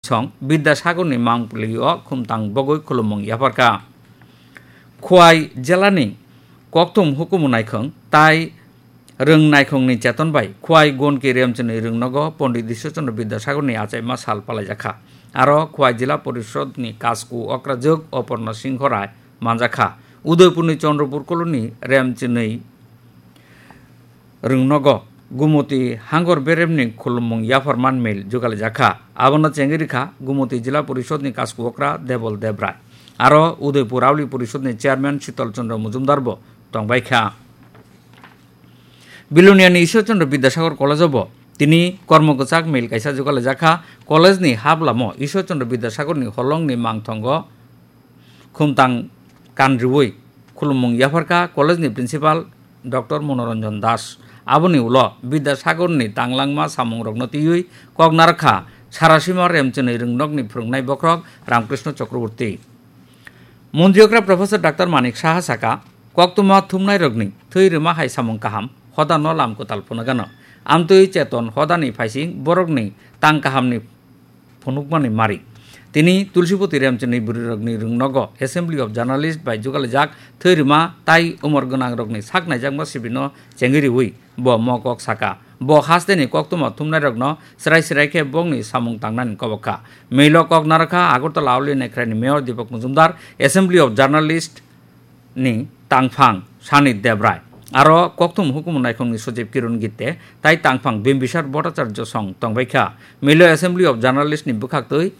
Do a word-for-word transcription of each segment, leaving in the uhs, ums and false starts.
song Bidyasagarni mangpili o khumtang bogwi khulumung yapharkha. Khwai jelani kokthum hukumu naikhwng tai rwng naikhwngni cheton bai Khwai Gonki Remchini rwngnogo Pondit Ishwar Chandra Bidyasagarni achaima sal palaijakha. Aro Khwai Jila Porishodni kasku okrajwk Oporno Singho Rai manjakha. Udaipurni Chandrapur koloni Remchini rwngnogo Gumoti Hangor Beremni khulumung yapharman mil jugalijakha. Abono chengwi rikha Gumoti Jila Porishodni kasku okra Debol Debrai. Aro Udaipur Auli Porishodni chairman Shital Chandra Mujumdar bo tongbaikha. Biloniani Ishwar Chandra Bidyasagar College-o bo tini kormo kwchak mil kaisa jugalijakha. College-ni hablamo Ishwar Chandra Bidyasagarni holongni mangthongo khumtang kanriwi khulumung yapharkha college-ni principal Doctor Monoranjan Das. Aboni ulo Bidyasagarni tanglangma samungrokno twiwi kok narwkha Sarasima Remchini rwngnokni phwrwngnai bokhorok Ramkrishna Chakraborty. Montri okra Professor Doctor Manik Saha saka, koktwma thumnairokni thwi rwma hai samung kaham, hodano lam kwtal phunukgano. Amtwi cheton hodani phaising borokni tang kahamni phunukmani mari. Tini Tulsipoti Remchini bwrwirokni rwngnogo Assembly of Journalist bai jugalijak thwi rwma tai umor gwnangrokni sak naijakma sibino chengwi riwi bo mokok saka. Bo hasteni koktwma thumnairokno srai srai khe bongni samung tangnani kobok kha. Milo kok narwkha Agartala Auli Nekhraini Mayor Deepak Majumdar, Assembly of Journalist ni tangphang Sani Debrai, aro kokthum hukumu naikhungni sochib Kiron Gitte tai tangphang Bimbisar Bhattacharya song tongbaikha. Milo Assembly of Journalist ni bwkhaktwi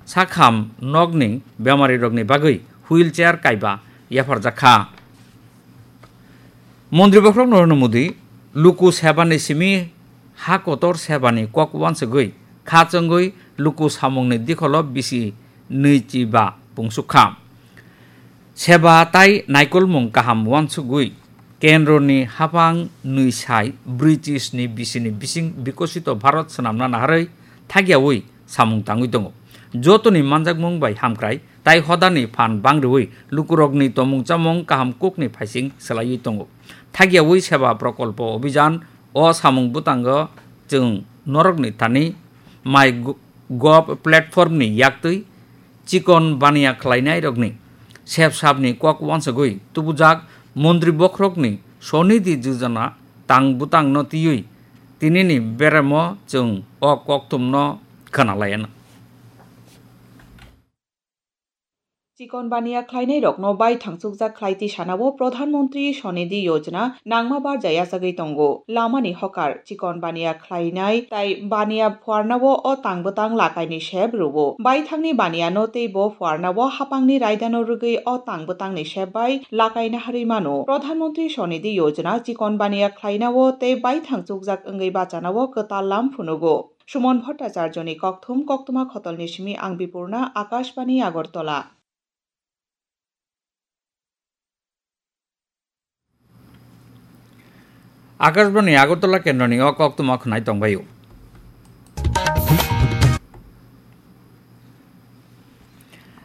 sakham nokni bemarirokni bagwi wheelchair kaiba yapharjakha. Montri bokhorok Narendra Modi luku sebani simi ha kotor sebani kok uansugwi kha chwngwi luku samungni dikholo bisi nwichiba pungsukha. Seba tai naikolmung kaham uansugwi kendroni haphang nwi sai brwi chisni bisini bising Bikosito Bharat swnamna naharwi thakyawi samung tangwi tongo. Jotoni manjakmung bai hamkrai tai hodani phan bangriwi lukurokni tomung chamung kaham kukni phaising swlaiwi tongo. Thakyawi Seba Prokolpo Obhijan o samung bwtango chwng norokni thani mai gu-, gov platform ni yaktwi chikon baniya khlainairokni sep sapni kok uansugwi tubujak montri bokhorokni Swanidhi Yojana tang bwtangno twiwi tinini beremo chwng o kokthumno khwnalaianw. Chikon baniya khlainairokno baithang chukjak khlai tisanao Pradhan Mantri Swanidhi Yojana nangma barja yachagwi tongo. Lamani hokar, chikon baniya khlainai tai baniya phuarnao o tang bwtang lakaini sep rwo. Baithangni baniyano tei bo phuarnao hapangni raidano rwgwi o tang bwtangni sep bai lakai naharwi mano. Pradhan Mantri Swanidhi Yojana chikon baniya khlainao tei baithang chukjak wngwi bachanao kwtal lam phunugo. Suman Bhattacharjoni kokthum, koktwma khotolni simi ang Bipurna, Akashbani Agartala. Akashbani Agartala kendroni o koktwma khwnai tongbaio.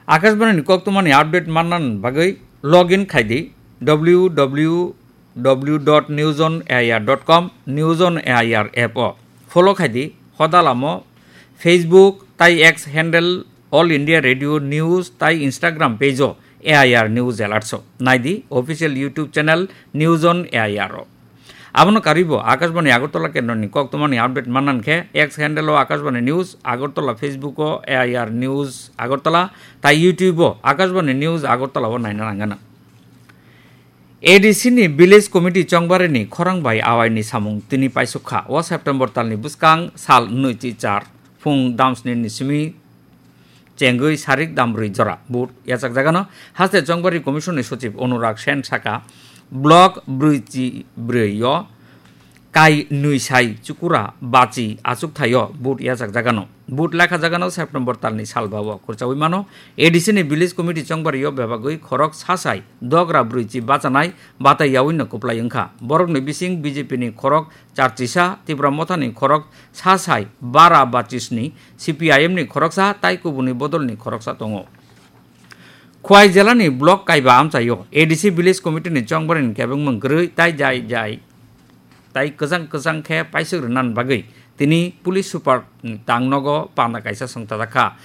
Akashbani ni koktwmani update mannani bagwi log in khai di W W W dot news on A I R dot com, News on A I R app o. Follow khai di, hoda lamo Facebook tai X handle All India Radio News tai Instagram page o A I R News Alerts o. Nai di official YouTube channel News on A I R o. Abono karwi bo Akashbani Agartala kendroni koktwmani update manna khe X handle o Akashbani News Agartala, Facebook o A I R News Agartala tai YouTube o Akashbani News Agartala o naina nangano. A D C ni Village Committee chongbarini khorang bai awaini samung tini paisuk kha. O September talni bwskang sal nwi chi char phung damsni ni simi chengwi sarik damrwi jora vote yachakjagano. Haste Chongbari Commission ni Sochib Anurag Sen saka, block brwi chi brwi o kai nwi sai chukura bachi achukthai o vote yachakjagano. Vote lekha jagano September talni salba o khurchawi mano. A D C ni Village Committee Chongbari o bebagwi khorok sasai dogra brwi chi bachanai batai yawi no kwplai wngkha. Borok ni bising B J P ni khorok charchisa, Tipra Motha ni khorok sasai bara bachisni, C P I M ni khoroksa tai kubuni bodol ni khoroksa tongo. Khwai jela ni block kaiba amchai o A D C Village Committee ni chongbarini kebengmung kwrwi tai jai jai tai kwchang kwchang khe paisuk rwna bagwi Tini police super tangnogo panda kaisa songchajak kha.